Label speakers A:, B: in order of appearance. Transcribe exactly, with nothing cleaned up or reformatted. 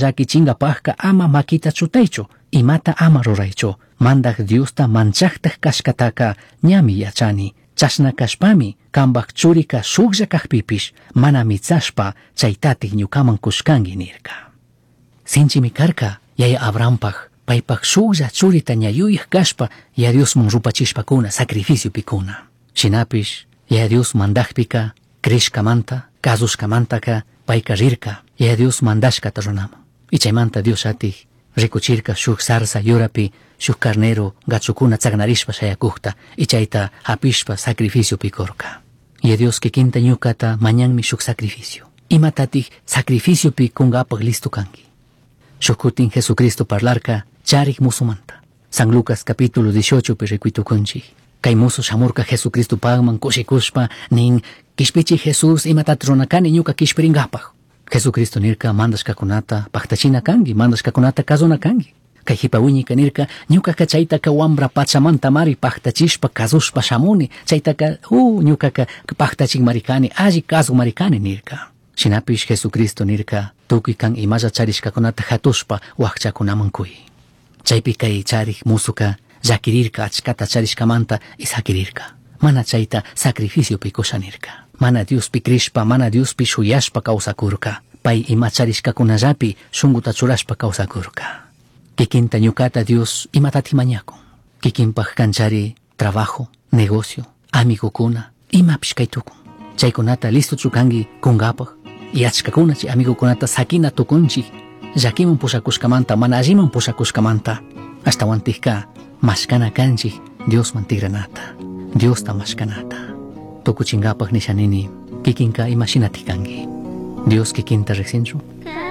A: Llaquichingapajca ama maquita chutaichu, imata ama ruraichu. Mandaj Diosta manchajtaj cashcataca ñami yachani. Chashna cashpami cambaj churica shujlla cajpipish mana mitsashpa chaitatik ñucaman cushcangui nirca. Sinchimi karka yaya Abrahampaj paypaj shujlla churita ña yuyaj kashpa ya Diosman rupachishpakuna sacrificiopikuna. Shinapish ya Dios mandajpika crishkamanta kazushkamantaka payka rirka ya Dios mandashkata runaman. Y chaymanta Dios atik rikuchirka shuk zarza yurapi shuk carnero gachukuna tsagnarishpa shayakukta y chayta hapishpa sacrificiopi kurka. Y Dios kikinta ñukata mañanmi shuk sacrificio. Imatatik sacrificiopi kungapak listo kanki. Shuk kutin Jesucristo parlarka charik musumanta. San Lucas capítulo dieciocho pi rikuitukunchik. Kay musu shamurka Jesucristo pagman kushikushpa nin kishpichi Jesús imatat runakani ñuka kishpiringapaj. Jesucristo nirka mandashkakunata paktachina kanki, mandashkakunata kazuna kanki. Kay jipa wiñika nirka ñukaka chaytaka wambra pachamanta mari paktachishpa kazushpa shamuni, chaytaka uh, ñukaka paktachik kani, alli kazuk mari kani nirka. Shinapish Jesucristo nirka tukuy kan imalla charishkakunata hatushpa wakchakunaman kuy. Chaypi kay charik musuka llakirirka achkata charishkamanta y sakirirka. Mana chayta sacrificiopi kusha nirka. Mana Diospi crishpa, mana Diospi shuyashpa kawsakurka. Pay ima charishkakunallapi shunguta churashpa kawsakurka. Kikinta ñukata Dios imatati mañakun. Kikinpaj kanchari trabajo, negocio, amigokuna, imapish kay tukun. Chaykunata listo chukanki kunkapaj. Y achkakuna chay amigokunata sakina tukunchik. Llakiman pushakushkamanta, mana alliman pushakushkamanta. Ashtawantikka mashkana kanchik Diosman tigranata. Diosta mashkanata. Tukuchinkapaj nishanini kikinka imashinatik kanki. Dios kikinta riqsinchu.